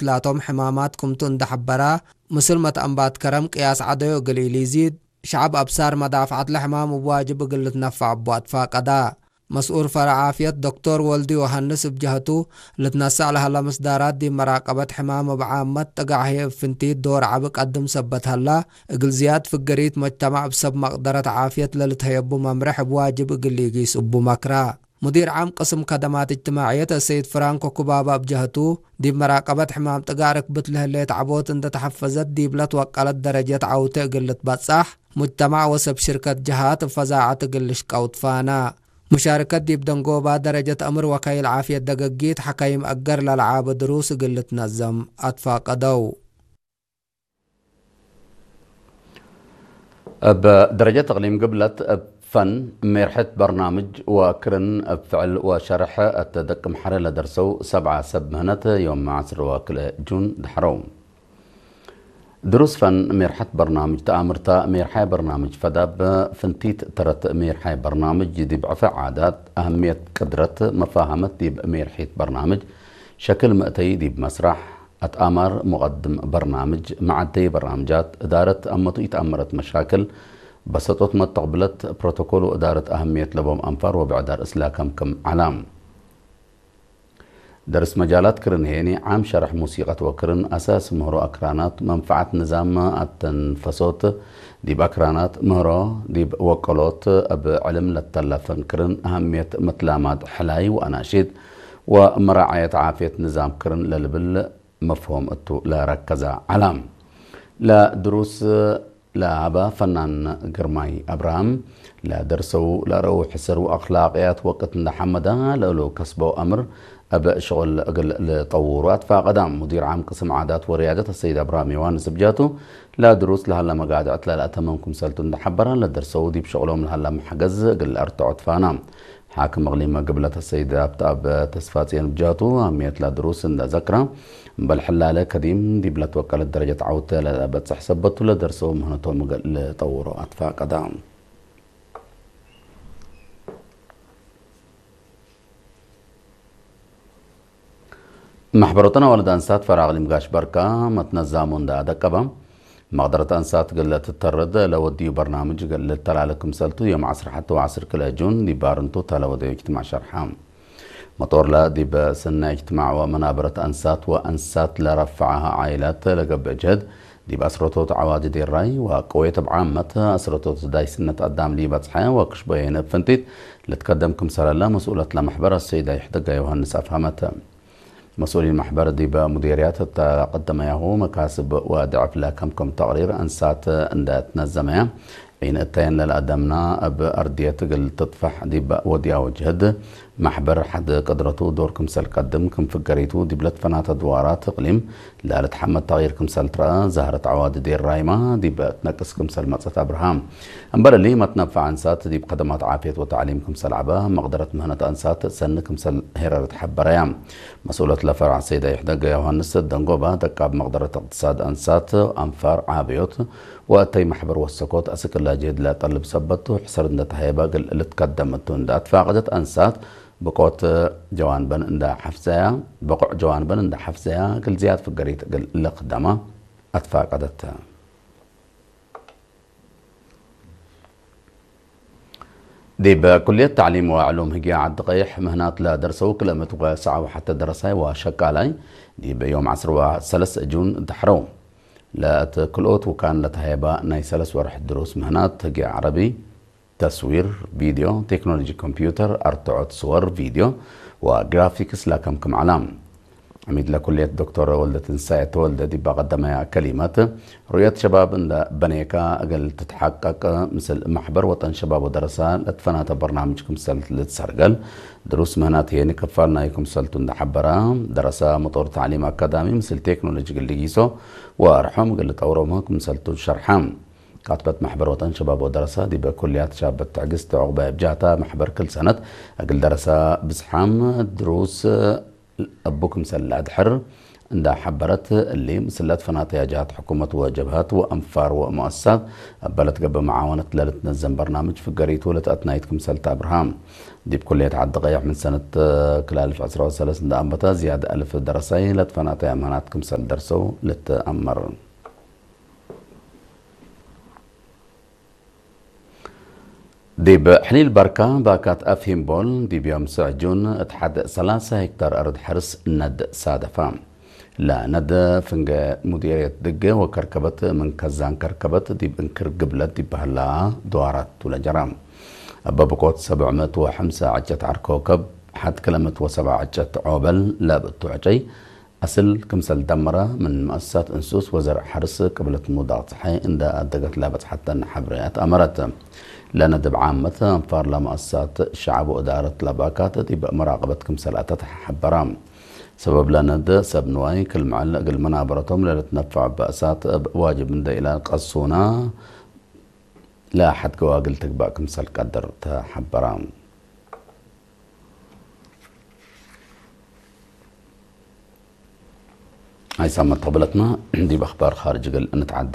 ላቶም ሕማማት ክምቱ እንዳሐበራ፣ ምስል መትአንባት ከረም ቅያስ ዐደዮ እግል ኢሊዚድ፣ ሸዐብ አብሳር መዳፍዐት ለሕማም እብ ዋጅብ እግል ልትነፈዕ እቡ አትፋቀዳ። መስኡል ፈረዕ ዓፍየት ዶክቶር ወልዲ ዮሃንስ እብ ጀሀቱ፣ ልትነሰእ ለሀለ ምስዳራት ዲብ መራቀበት ሕማም እብ ዓመት ጥጋዕ ህዬ እብ ፍንቲት ዶር ዐቢ ቀድም ሰበት ሀላ፣ እግል ዝያድ ፍግሪት መጅተማዕ እብ ሰብ መቅደረት ዓፍየት ለልትሀየቡ መምርሕ እብ ዋጅብ እግል ኢጊስ እቡ መክራ። ሙዲር ዓም ቅስም ከደማት እጅትማዕየት አሰይድ ፍራንኮ ኩባባ እብ ጀሀቱ፣ ዲብ መራቀበት ሕማም ጥጋዕ ርክብት ለህሌት ዐቦት እንደ ተሐፈዘት ዲብ ለትወቀለት ደረጀት ዐውቴ እግል ልትበጻሕ፣ ሙጅተማዕ ወሰብ ሽርከት ጀሃት እብ ፈዛዐት እግል ልሽቀው ትፋና። ሙሻርከት ዲብ ደንጎባ ደረጀት አምር ወካይል ዓፍየት ደገጊት ሐካይም አገር ለለዓበ ድሩስ እግል ልትነዘም አትፋቀደው። እብ ደረጀት እቅሊም ግብለት እብ ፈን ሜርሐት በርናምጅ ወክርን እብ ፍዕል ወሸርሕ እት ደቅምሐረ ለደርሰው ሰብዓ ሰብ ምህነት ዮም ዐስር ወክልኤ ጁን ደሐረው። ድሩስ ፈን ሜርሐት በርናምጅ ተአምርታ ሜርሓይ በርናምጅ ፈዳብ ፍንቲት ተረት ሜርሓይ በርናምጅ ዲብ ዕፈ ዓዳት አህምየት ቅድረት መፋሃመት ዲብ ሜርሒት በርናምጅ ሸክል መእተይ ዲብ መስራሕ አትአማር ሙቀድም በርናምጅ መዓደይ በርናምጃት እዳረት አመቱ ኢተአመረት መሻክል በሰጦት መተቅብለት ፕሮቶኮል ወእዳረት አህምየት ለቦም አንፋር ወብዕዳር እስላከም ክም ዓላም። ደርስ መጃላት ክርን ሄኒ ዓም ሸርሕ ሙሲቀት ወክርን አሳስ ምህሮ አክራናት መንፈዓት ንዛም አተንፈሶት ዲብ አክራናት ምህሮ ዲብ ወቀሎት እብ ዕልም ለተለፈን ክርን አህምየት መትላማድ ሕላይ ወአናሺድ ወመራዓየት ዓፍየት ንዛም ክርን ለልብል መፍሆም እቱ ለረከዘ ዓላም። ለድሩስ ለሀበ ፈናን ግርማይ አብርሃም፣ ለደርሰው ለረው ሕስር ወአኽላቅያት ወቅት እንደ ሐመዳ ለእሉ ከስበው አምር እብ ሽቁል እግል ልጠውሩ አትፋቀዳ። ሙዲር ዓም ቅስም ዓዳት ወርያደት አሰይድ አብርሃም ዮሐንስ እብ ጃቱ፣ ለድሩስ ለሀለ መጋድዕት ለልአተመም ክምሰልቱ እንደ ሐበራ፣ ለደርሰው ዲብ ሽቁሎም ለሀለ መሐገዝ እግል አርትዖ ትፋና። ሓክም እቅሊም ግብለት አሰይድ አብትአብ ተስፋጽዮን እብ ጃቱ፣ አህምየት ለድሩስ እንደ ዘክራ፣ እምበል ሕላለ ከዲም ዲብ ለትወቀለት ደረጀት ዐውተ ለበጽሕ ሰበቱ ለደርሰው ምህነቶም እግል ልጠውሮ አትፋቀዳ። መሕበር ወጠን አዋልድ አንሳት ፈራቅ ሊምጋሽ በርካ መትነዛሙ እንዳ አደቀበ፣ መቅደረት አንሳት እግል ትተርድ ለወድዩ በርናምጅ እግል ልተላለ ክምሰልቱ ዮም ዐስር ሐተ ወዐስር ክልኤ ጁን ዲብ ባርንቱ ተለወደዩ እጅትማዕ ሸርሐ። መጦርለ ዲብ ስነ እጅትማዕ ወመናበረት አንሳት ወአንሳት ለረፍዐሃ ዓኢላት ለገብእ ጀህድ፣ ዲብ አስረቶት ዐዋዲ ዴራይ ወቀዌት እብ ዓመት አስረቶት ዳይስነት አዳም ሊበጽሐ ወክሽቦ የነ እብ ፍንቲት ልትከደም ክምሰለለ መስኡለት ለመሕበር አሰይዳ ይሕደጋ ዮሃንስ አፍሀመተ። መስኡሊን መሕበር ዲበ ሙዴርያት እተ ቀደመያሁ መካስብ ወድዕፍለ ከምከም ተቅሪር አንሳት እንደ ትነዘመያ ዒን እተየን ለልአደምና እብ አርድየት እግል ትጥፈሕ ዲበ ወድያው ጅህድ መሕበር ሐድ ቅድረቱ ዶር ክምሰል ቀድም ክም ፍገሪቱ ዲብ ለትፈናተ ድዋራት እቅሊም ለልትሐመድ ተቅይር ክምሰል ትረአ ዛህረት ዐዋዲ ዴር ራይማ ዲበ ትነቅስ ክምሰል መጸት አብርሃም። እምበል እሊ መትነፈዕ አንሳት ዲብ ከደማት ዓፍየት ወተዕሊም ክምሰል ዐበ መቅደረት ምህነት አንሳት ሰኒ ክምሰል ሄረረት ሐበረያ። መስኡለት ለፈርዕ ሰይዳ ይሕደገ ዮሃንስ ደንጎባ ደቃብ መቅደረት እቅትሳድ አንሳት አንፋር ዓብዮት ወእተይ መሕበር ወሰኮት አስክላ ጅህድ ለጠልብ ሰበቱ ሕሰር እንደ ተሀየበ እግል ልትከደም እቱ እንደ አትፋቀደት አንሳት ብቆት ጀዋንበን እንደ ሐፍዘያ ብቁዕ ጀዋንበን እንደ ሐፍዘያ እግል ዝያድ ፍገሪት እግል ልክደማ አትፋቀደት። ዲብ ኩልየት ተዕሊም ወዕሉም ህግያ ዓዲ ቀይሕ ምህናት ለደርሰው ክልኤ ምእት ወሰዓው ሐተ ደረሳይ ወሸቃላይ ዲብ ዮም ዐስር ወሰለስ ጁን ደሕረው። ለእት ክልኦት ውካን ለተሀየባ ናይ ሰለስ ወርሕ ድሩስ ምህናት ህግያ ዓረቢ፣ ተስዊር፣ ቪድዮ፣ ቴክኖሎጂ ኮምፒውተር፣ አርትዖት ስወር፣ ቪድዮ ወግራፊክስ ለከምክም ዐላ። ዐሚድ ለኩልየት ዶክተር ወልደትንሳኤ ተወልደ ዲብ ቀደመያ ከሊመት፣ ሩእየት ሸባብ እንደ በኔካ እግል ትትሐቀቅ፣ ምስል ማሕበር ወጠን ሸባብ ወደረሳ ለትፈናተ በርናምጅ ክምሰል ልትሰርገል፣ ድሩስ ምህናት ሄኒ ክፋል ናይ ክምሰልቱ እንደ ሐበራ፣ ደረሳ መጦር ተዕሊም አካዳሚ ምስል ቴክኖሎጂ እግል ልጊሶ ወአርሖም እግል ልጠውሮም ክምሰልቱ ሸርሐ። ካትበት ማሕበር ወጠን ሸባብ ወደረሳ ዲበ ኩልያት ሻበት ትዕግስት ዑቅባይ እብ ጃህታ ማሕበር ክል ሰነት እግል ደረሳ ብዝሓም ድሩስ እቡ ክምሰል ለአድሕር እንዳ ሐበረት እሊ ምስለት ፈናተያ ጃት ሕኩመት ወጀብሀት ወአንፋር ወሙአሰሳት እበለት ገብእ መዓወነት ለልትነዘም በርናምጅ ፍገሪቱ ለተአትናይት ክምሰልት አብርሃም። ዲብ ኩልየት ዓዲ ቀይሕ ምን ሰነት ክላልፍ ዕስራ ወሰለስ እንዳ አንበተ ዝያድ አልፍ ደረሳይ ለትፈናተያ ምህናት ክምሰል ደርሰው ልትአመር። ዲብ ሕሊል በርካ ባካት አፍሂምቦል ዲብ ዮም ስዕጁን እት ሐድ ሰላሳ ሄክታር አርድ ሐርስ ነድ ሳደፋ። ለነድ ፍንገ ሙዲርየት ድገ ወከርከበት ምን ከዛን ከርከበት ዲብ እንክር ግብለት ዲብ በህላ ድዋራት ቱለጀራ። እበ ብቆት ሰብዕ ምእት ወሐምሳ ዕጨት ዓር ኮከብ ሐድ ክለ ምእት ወሰብዓ ዕጨት ዖበል ለብእቱ ዕጨይ አስል ክምሰል ደመረ ምን መአሰሳት እንሱስ ወዘርዕ ሐርስ ቅብለት ሙዳቅ ጸሓይ እንደ አደገት ለበጽሐተን ሐብርያት አመረት። ለነድብ ዓመት አንፋር ለመአሰሳት ሸዕብ ወእዳረት ለባካት ዲብ መራቀበት ክምሰል አተት ሐበራ። ሰበብ ለነድ ሰብ ንዋይ ክል መዐል እግል መናበረቶም ለልትነፈዕ በእሳት እብ ዋጅብ እንደ ኢላ ቀሱና ለሐድ ገዋግል ትግባእ ክምሰል ቀድር ተሐበራ። ኣይሳመት ተብለትና ዲብ ኣኽባር ኻርጅ እግል እንትዓደ።